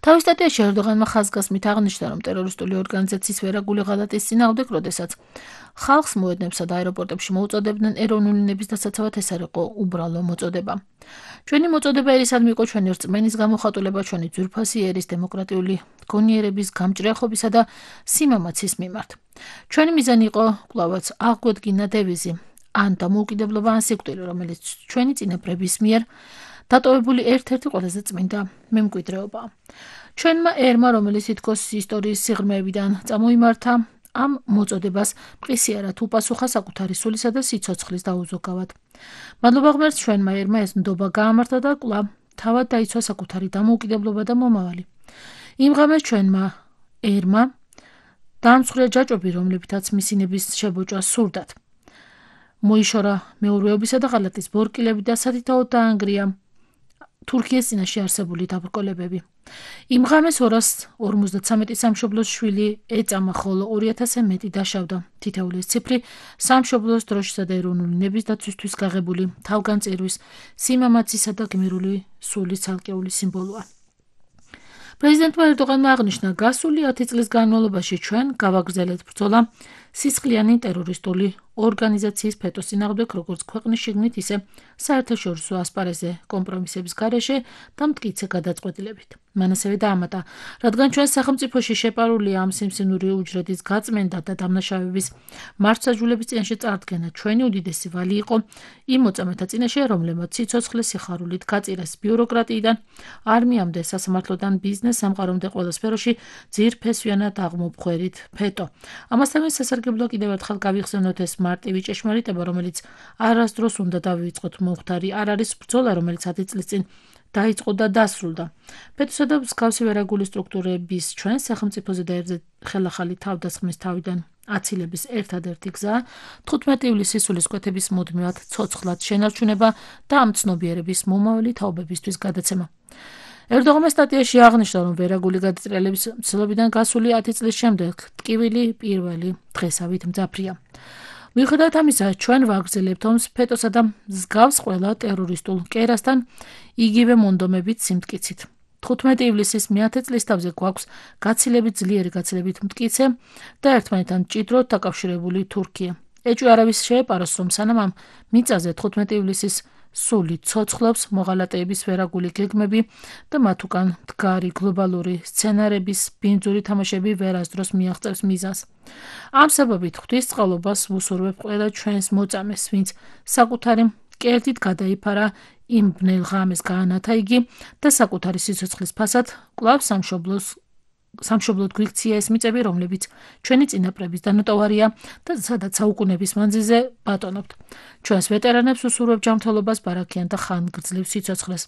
თავის სტატიაში ერდოღანმა ხაზგასმით აღნიშნა, რომ ტერორისტული ორგანიზაციის ვერაგული ღალატის წინააღმდეგ, როდესაც ხალხს მოედნებსა და აეროპორტებში მოუწოდებდნენ ეროვნული ნების დასაცავად, ეს არ იყო უბრალო მოწოდება. ჩვენი მოწოდება ერისადმი იყო ჩვენი რწმენის გამოხატულება ჩვენი ძვირფასი ერის დემოკრატიული გონიერების გამჭრიახობისა და სიმამაცის მიმართ. ჩვენი მიზანი იყო კვლავაც აღგვედგინა დევიზი ან დამოუკიდებლობა ან სიკვდილი, რომელიც ჩვენი წინაპრების მიერ დატოვებული ერთ-ერთი ყველაზე წმინდა მემკვიდრეობაა. ჩვენმა ერმა, რომელიც თითქოს ისტორიის სიღრმეებიდან წამოიმართა, ამ მოწოდებას მყისიარად უპასუხა საკუთარი სულისა და სიცოცხლის დაუზოგავად. მადლობა ღმერთს, ჩვენმა ერმა ეს ნდობა გაამართლა და კვლავ თავად დაიცვა საკუთარი დამოუკიდებლობა და მომავალი. იმ ღამეს ჩვენმა ერმა დაამსხვრია ჯაჭვები, რომლებითაც მისინების შებოჭვა სურდათ. მოიშორა მეურვეობისა და ღალატის ბორკილები და სათითაოდ დაანგრია თურქიის წინაშე არსებული დაბრკოლებები. იმ ღამეს 253 სამშობლოს შვილი ეწამა, ხოლო 2000-ზე მეტი დაშავდა. თითოეული ეს ციფრი სამშობლოს დროშისა და ეროვნული ნების დაცვისთვის გაღებული თავგანწირვის, სიმამაცისა და გმირული სულის ცალკეული სიმბოლოა. პრეზიდენტმა ერდოღანმა აღნიშნა, გასული 10 წლის განმავლობაში ჩვენ გავაგრძელებთ ბრძოლა სისხლიანი ტერორისტული ორგანიზაციის ფეტოს წინააღმდეგ, როგორც ქვეყნის შიგნით, ისე საერთაშორისო ასპარეზზე კომპრომისების გარეშე და მტკიცე გადაწყვეტილებით. მან ასევე დაამატა, რადგან ჩვენ სახელმწიფოში შეპარულია ამ სიმსივნური უჯრედის გაწმენდა და დამნაშავების მართლმსაჯულების წინაშე წარდგენა, ჩვენი უდიდესი ვალი იყო იმ მოწამეთა წინაშე, რომლებმაც სიცოცხლე სიხარულით გაწირეს ბიუროკრატიიდან, არმიამდე, სასამართლოდან ბიზნეს სამყარომდე ყველა სფეროში ძირფესვიანად აღმოფხვერით ფეტო. ამასთანავე სასარგებლოა კიდევ ერთხელ გავიხსენოთ ეს მარტივი ჭეშმარიტება, რომელიც არასდროს უნდა დავივიწყოთ მომხდარი არ არის ბრძოლა, რომელიც 10 წლის წინ დაიწყო და დასრულდა. ფეტოსა და მსგავსი ვერაგული სტრუქტურების ჩვენ სახელმწიფოზე და ერთზე ხელახალი თავდასხმის თავიდან აცილების ერთადერთი გზაა 15 ივლისის სულისკვეთების მუდმივად ცოცხლად შენარჩუნება და ამ ცნობიერების მომავალი თაობებისთვის გადაცემა. ერდოღანმა სტატიაში აღნიშნა, რომ ვერაგული გადატრიალების მცდელობიდან გასული 10 წლის შემდეგ ტკივილი პირველი დღესავით მძაფრია. მიუხედავად ამისა, ჩვენ ვაგრძელებთ ომს ფეტოსა და მსგავს ყველა ტერორისტულ კერასთან იგივე მონდომებით სიმტკიცით. 15 ივლისის მე-10 წლის თავზე გვაქვს გაცილებით ძლიერი, გაცილებით მტკიცე და ერთმანეთთან მჭიდროდ დაკავშირებული თურქია. ეჭვი არავის შეეპაროს, რომ სანამ ამ მიწაზე 15 ივლისის სული ცოცხლობს, მოღალატეების ვერაგული გეგმები და მათ უკან მდგარი გლობალური სცენარების ბინძური თამაშები ვერასდროს მიაღწევს მიზანს. ამ საბაბით ღვთისწყალობას ვუსურვებ ყველა ჩვენს მოწამეს, ვინც საკუთარი კერძით გადაიფარა იმ ბნელ ღამეს გაანათა იგი და საკუთარი სიცოცხლის ფასად კვლავ სამშობლოდ გვიქცია ეს მიწები, რომლებიც ჩვენი წინაპრების დანატოვარია და სადაც საუკუნეების მანძილზე ბატონობთ. ჩვენს ვეტერანებს უსურვებ ჯანმრთელობას, ბარაქიან და ხანგრძლივ სიცოცხლეს.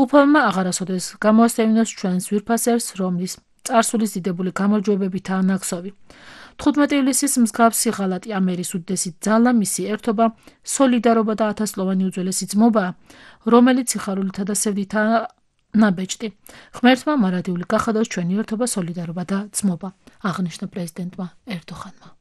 უფალმა აღარასოდეს გამოასწევინოს ჩვენს ძვირფასერს, რომლის წარსულის დიდებული გამარჯვებებითაა ნაქსოვი. 15 ივლისის მსგავსი ღალატი ამერის უდიდესი ძალა, მისი ერთობა, სოლიდარობა და ათასწლოვანი უძველესი ძმობაა, რომელიც სიხარულითა და სევდითაა ნაბეჭდი. ღმერთმა მარადიული გახადოს ჩვენი ერთობა, სოლიდარობა და ძმობა, აღნიშნა პრეზიდენტმა ერდოღანმა.